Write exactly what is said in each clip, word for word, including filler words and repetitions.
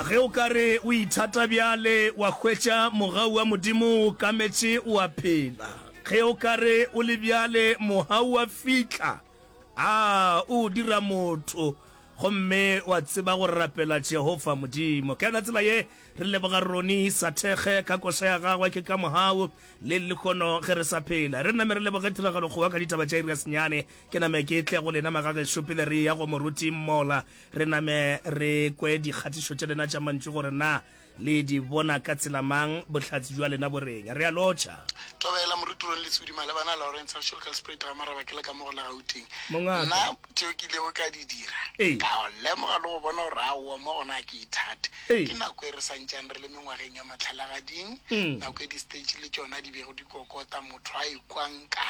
Ge o ka re o ithata bjale, wa hwetša mogau wa Modimo o kametše o a phela. Ge o ka re o le bjale, mogau wa fihla, a o dira motho, gomme wa tseba go rapela Jehofa Modimo. Ka yona tsela ye, re leboga Ronnie Sathekge ka koša ya gagwe Ke ka Mogau le lehono ge re sa phela. Re name re leboge Tiragalo Kgowa ka ditaba tša iri ya senyane. Ke name ke tle go lena magagešo pele re eya go Moruti Mola. Re name re kwe dikgatišo tša lena tša mantšu gore na le di bona ka tsela mang, bohlatse bja lena bo reng. Re a lotšha. Thobela, Moruti Ron Lesodi, malebana Lawrence Rašolkalspruit Ramaraba ke le ka mo go la Gauteng. Mongaka. Nna tšeo ke ilego ka di dira, Ee. ka lemoga le go bona gore aowa mo gona ga ke ithate. Ee. Ke nako e re santšang re le mengwageng ya mahlalagading, Mm. nako e di-stage le tšona di bego di kokota, motho a ikwa nka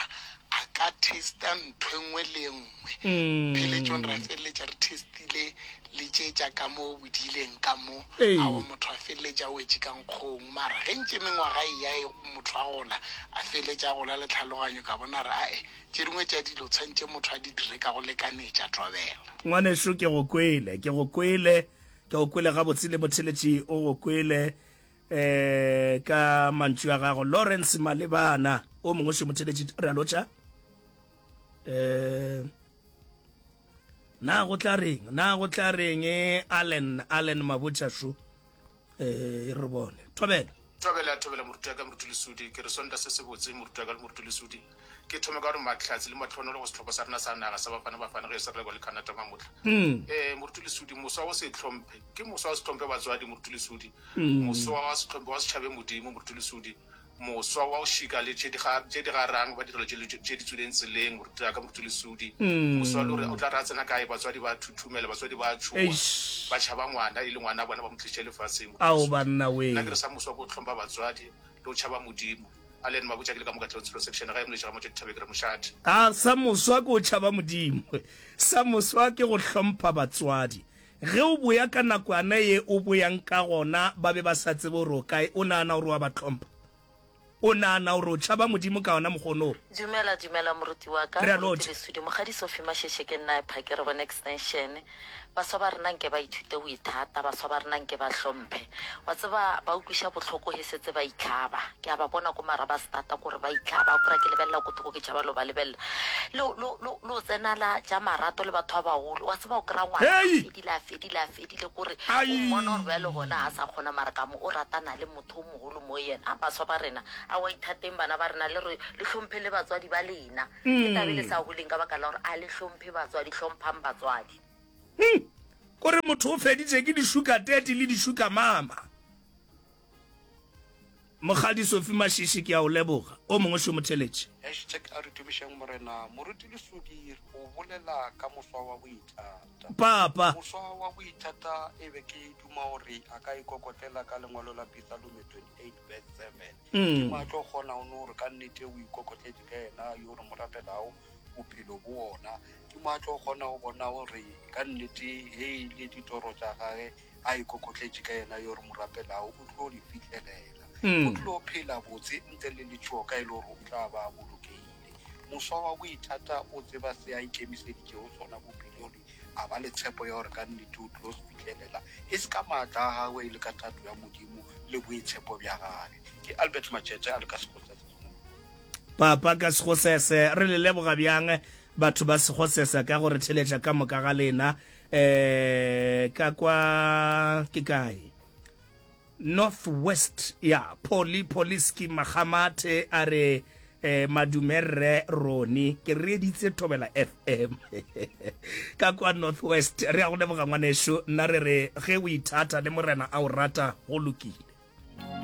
a ka taster ntho e nngwe le e nngwe. Mm. Pheletšong ra feleletša re testile le tše tša ka mo bodileng ka mo, Ee. aowa motho a feleletša a wetše ka nkgong. Mara ge ntše mengwaga e ya e motho a gola, a feleletša a gola le tlhaloganyo, ka bona re ae tše dingwe tša dilo tshwanetše motho a di dire ka go lekanetša. Thobela. Ngwanešu, ke go kwele, ke go kwele, ke go kwele gabotse le motheletši o go kwele eh ka mantšu a gago. Lawrence Malebana, o mongwe še motheletši, re a lotšha. Eh na go tla reng, na go tla reng Allen, Allen Mabotja šo, eh re bone. Thobela. Thobela, thobela moruti wa ka Moruti Lesodi, ke re sonta se se botse moruti wa ka le Moruti Lesodi. Ke thome ka gore mahlatse le mahlonolo go sehlopha sa rena sa naga sa Bafana Bafana ge se re le Canada mamotla. Mm. Eh Moruti Lesodi, moswa wa se hlomphe, ke moswa wa se hlomphe batswadi Moruti Lesodi. Mm. Moswa wa se hlomphe wa se tšhabe Modimo Moruti Lesodi. Moswa wa o šika le tše di ga tše di garang ba direlo tše tše di tswileng tseleng Moruti wa ka Moruti Lesodi. Moswa le gore o tla re a tsena kae batswadi ba thuthumela, batswadi ba tšhoga, Eish. ba tšhaba ngwana e le ngwana bona ba mo tlišitše lefaseng Moruti Ao Lesodi. banna we. Nna ke re sa moswa ke o hlompha batswadi le o tšhaba Modimo. A le ene Mabotja ke le ka mo Katlehong Tsholo section ga e moletše ga Motšwa Dithabe ke re mošate. A sa moswa ke o tšhaba Modimo. Sa moswa ke go hlompha batswadi. Ge o boya ka nakwana ye o boyang ka gona ba be ba sa tsebe gore o kae, o nagana gore wa ba hlompha? O nagana gore o tšhaba Modimo ka ona mokgono wo? Dumela, dumela moruti wa ka, Re a Moruti lotšha. Lesodi, Mokgadi Sophie Masheshe ke nna Phake re bone extension. Baswa ba rena nke ba ithute go ithata, baswa ba rena nke ba hlomphe. Wa tseba ba ukwiša bohloko he setse ba itlhaba. Ke a ba bona ko mara ba starta kore ba itlhaba, o kry-a ke lebelela ko thoko ke tšhaba lo ba lebelela. Lo lo lo lo tsena la tša marato le batho ba bagolo. Wa tseba o kry-a ngwana a Hei! fedile a fedile a fedile kore o Ai! mmona gore bjale gona ga sa kgona mara ka mo o ratana le motho o mogolo mo yena. A baswa ba rena a wa ithateng bana ba rena le re le hlomphe le batswadi ba lena. Ke tabe le sa holeng ka baka la gore a le hlomphe batswadi, hlomphang batswadi. Hmm. Kore motho o feditše ke di-sugar daddy le di-sugar mama. Mokgadi Sophie Mashishi ke a o leboga. O mongwe šo motheletše. Hashtag a re tumišeng Morena. Moruti Lesodi o bolela ka moswa wa boithata. Papa. Moswa wa boithata e be ke duma gore a ka ikokotlela ka lengwalo la Pesalome twenty-eight verse seven. Ke Mm. mo a tlo kgona go no gore ka nnete o ikokotletše ka yena yo re mo rapelago bophelo bo ona. Ke mo a tlo kgona go bona gore ka nnete he le ditoro tša gage a ikokotletše ka yena yo re mo rapelago o tlo di fihlelela. O Mm. tlo phela botse ntle le letšhogo ka e le gore o tla ba a bolokegile. Moswa wa boithata o tseba se a ikemiseditšego sona bophelong, a ba le tshepo ya gore ka nnete o tlo se fihlelela e se ka maatla a gagwe e le ka thato ya Modimo le boitshepo bja gage. Ke Albert Machete a le ka Sekgosese. Papa ka Sekgosese, re le leboga bjang batho ba Sekgosese ka go re theletša ka moka ga lena. Eh ka kwa ke kae? North West ya Poli Poliski Magamate a re eh, madume rre Roni ke reeditse Thobela F M ka kwa North West. Re a go leboga ngwanešu, nna re re ge o ithata le Morena a o rata go lokile.